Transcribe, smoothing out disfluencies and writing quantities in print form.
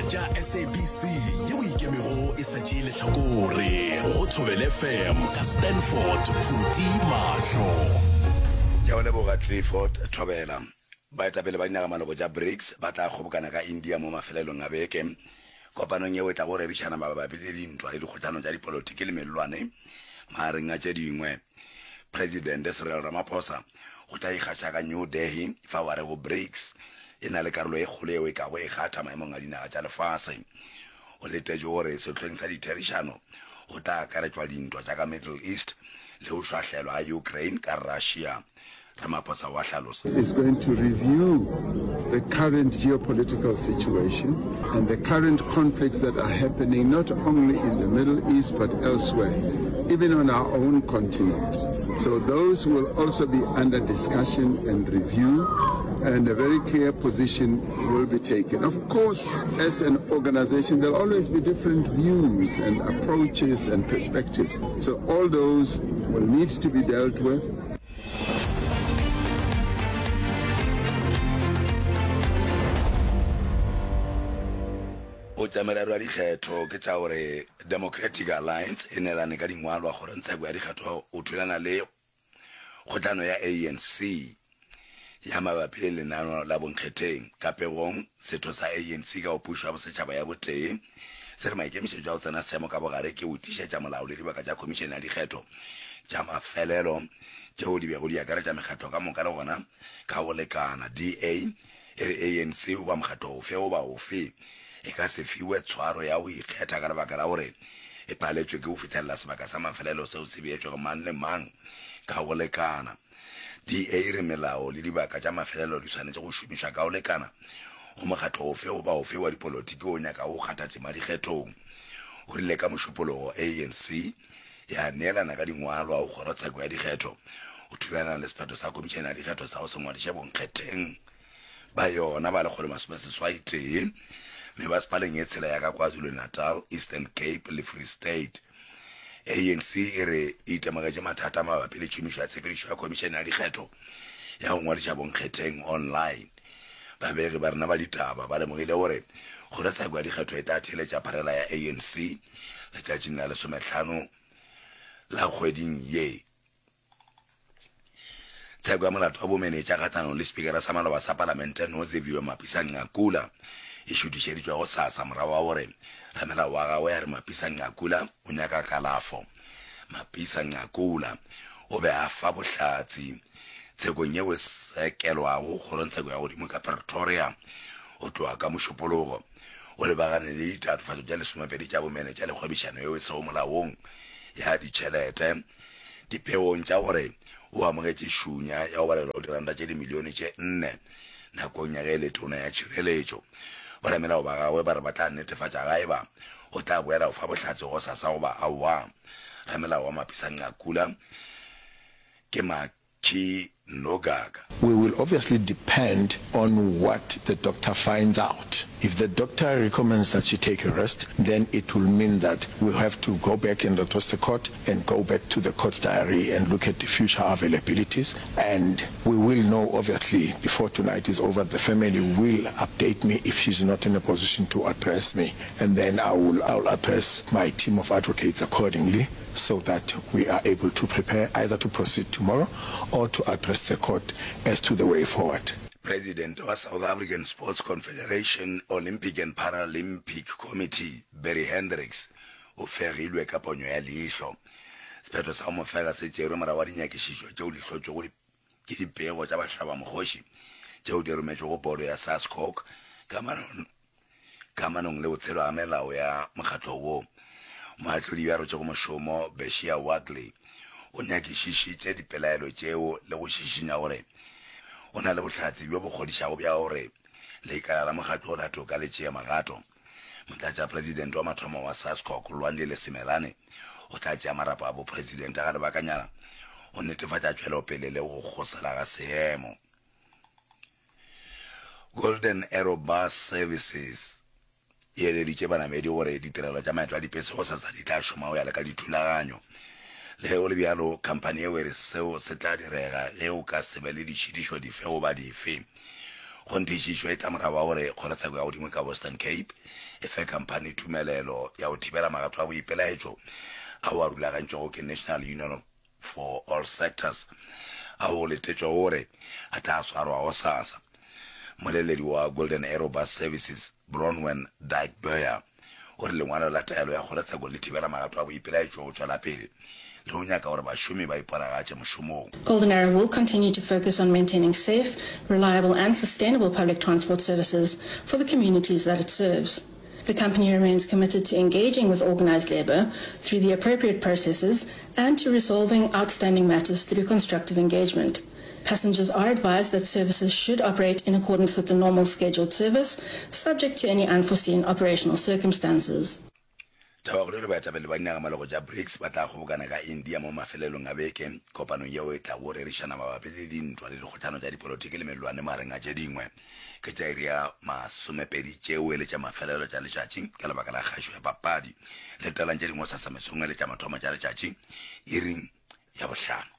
tša SABC yeo e ikemego e sa tšee lehlakore go Thobela FM ka Stanford Phuti Mahlo. Ke a go leboga Clifford Thobela. Baetapele ba dinagamaloko tša BRICS ba tla kgobokana ka India mo mafelelong a beke kopanong yeo e tlago rerišana mabapi le dintwa le dikgohlano tša dipolotiki le mellwane magareng a tše dingwe. Presidente Cyril Ramaphosa o tla ikgaša ka New Delhi fao a rego BRICS e na le karolo e kgolo yeo e kago e kgatha maemong a dinaga tša lefase. O letetšwe gore sehlweng sa ditherišano go tla akaretšwa dintwa tša ka Middle East le go šwahlelwa ga Ukraine ka Russia. Ramaphosa o a hlalosa. is going to review the current geopolitical situation and the current conflicts that are happening not only in the Middle East but elsewhere, even on our own continent. So those will also be under discussion and review, and a very clear position will be taken. Of course, as an organization, there'll always be different views and approaches and perspectives. So all those will need to be dealt with. Go tša merero ya dikgetho ke tša gore Democratic Alliance e neelane ka dingwalwa kgorongtsheko ya dikgetho go thulana le kgohlano ya ANC ya mabapi le lenano la bonkgetheng. Ka pegong, setho sa ANC ka go Pušo ya Bosetšhaba ya Botee se re maikemišetšo a go tsena seemo ka bogare ke go tiišetša molao le dibaka tša Khomišene ya Dikgetho tša mafelelo tšeo di bego di akaretša mekgatlo ka moka le gona ka go lekana. DA e re ANC goba mokgatlo ofe goba ofe e ka se fiwe tshwaro ya go ikgetha ka lebaka la gore e paletšwe ke go fihlelela sebaka sa mafelelo seo se beetšwego mang le mang ka go lekana. DA e re melao le dibaka tša mafelelo di swanetše go šomišwa ka go lekana go mokgatlo ofe goba ofe wa dipolotiki wo o nyakago go kgatha tema dikgethong. O rile ka Mošupologo ANC ya neelana ka dingwalwa go kgorotsheko ya dikgetho go thulana le sephetho sa Khomišene ya Dikgetho sa go se ngwadiše bonkgetheng ba yona ba 181 mebasepaleng ye tshela ya ka KwaZulu-Natal, Eastern Cape le Free State. ANC e re e itemogetše mathata mabapi le tšhomišo ya tshepedišo ya Khomišene ya Dikgetho ya go ngwadiša bonkgetheng online. Babegi ba rena ba ditaba ba lemogile gore kgorotsheko ya dikgetho e tla theeletša pharela ya ANC letšatšing la lesomehlano la kgweding ye. Tsheko ya molato wa bomenetša kgahlanong le Spikara sa maloba sa Palamente Noziviwe Mapisa-Nqakula e šuthišeditšwe gosasa morago ga gore ramelao wa gagwe a re Mapisa-Nqakula o nyaka kalafo. Mapisa-Nqakula o be a fa bohlatse tshekong yeo e sekelwago kgorongtsheko ya godimo ka Pretoria go tloga ka Mošupologo. O lebagane le ditatofatšo tša lesomepedi tša bomenetša le kgwebišano yeo e sego molaong ya ditšhelete. Dipeong tša gore o amogetše šunya ya go balelwa go diranta tše dimilione tše nne nakong ya ge e le tona ya tšhireletšo. Boramelao ba gagwe ba re ba tla netefatša ga eba o tla boela go fa bohlatse gosasa goba aowa. Ramelao wa Mapisa-Nqakula ke Makhi Nogaka. We will obviously depend on what the doctor finds out. If the doctor recommends that she take a rest, then it will mean that we'll have to go back and address the court and go back to the court's diary and look at the future availabilities. And we will know, obviously, before tonight is over, the family will update me if she's not in a position to address me. And then I will, I will address my team of advocates accordingly. so that we are able to prepare either to proceed tomorrow or to address the court as to the way forward. President wa South African Sports Confederation Olympic and Paralympic Committee Barry Hendricks o fegilwe ka ponyo ya leihlo. Sephetho sa go mo fega se tšerwe morago ga dinyakišišo tšeo di hlotšwego ke dipego tša bahlabamokgoši tšeo di rometšwego bodo ya SASCOC kamanong le go tshelwa ga melao ya mokgatlo wo. Moahlodi yo a rotšego mošomo, Beshia Wagley, o nyakišišitše dipelaelo tšeo le go šišinya gore o na le bohlatse bjo bo kgodišago bja gore lekala la mokgatlo la toka le tšee magato. Motlatšapresidente wa mathomo wa SASCOC, Lwandile Simelane, o tla tšea marapo a bopresidente ga lebakanyana go netefatša tšwelopele le go kgosela ga seemo. Golden Arrow Bus Services e eleditše banamedi gore ditirelo tša maeto a dipese gosasa di tla šoma go ya le ka dithulaganyo. Le ge go le bjalo, khamphani yeo e re seo se tla direga ge go ka se be le ditšhitišo dife goba dife. Kgonthišišo e tla morago ga gore kgorotsheko ya godimo ka Western Cape e fe khamphani tumelelo ya go thibela magato a boipelaetšo ao a rulagantšwego ke National Union for All Sectors ao go letetšwego gore a tla swarwa gosasa. Mmoleledi wa Golden Arrow Bus Services, Bronwen Dyke-Boyer, o re lengwalo la taelo ya kgorotsheko le thibela magato a boipelaetšo go tšwela pele le go nyaka gore bašomi ba iponagatše mošomong. Golden Arrow will continue to focus on maintaining safe, reliable and sustainable public transport services for the communities that it serves. The company remains committed to engaging with organised labour through the appropriate processes and to resolving outstanding matters through constructive engagement. Passengers are advised that services should operate in accordance with the normal scheduled service, subject to any unforeseen operational circumstances. Tabakgolo e re baetapele ba dinagamalogo tša BRICS ba tla kgobokana ka India mo mafelelong a beke kopanong yeo e tlago rerišana mabapi le dintwa le dikgohlano tša dipolotiki le mellwane magareng a tše dingwe. Ke tša iri ya masomepedi tšeo e le tša mafelelo tša letšatši ka lebaka la kgašo ya papadi. Letelang tše dingwe gosasa mesong e le tša mathomo tša letšatši iring ya bohlano.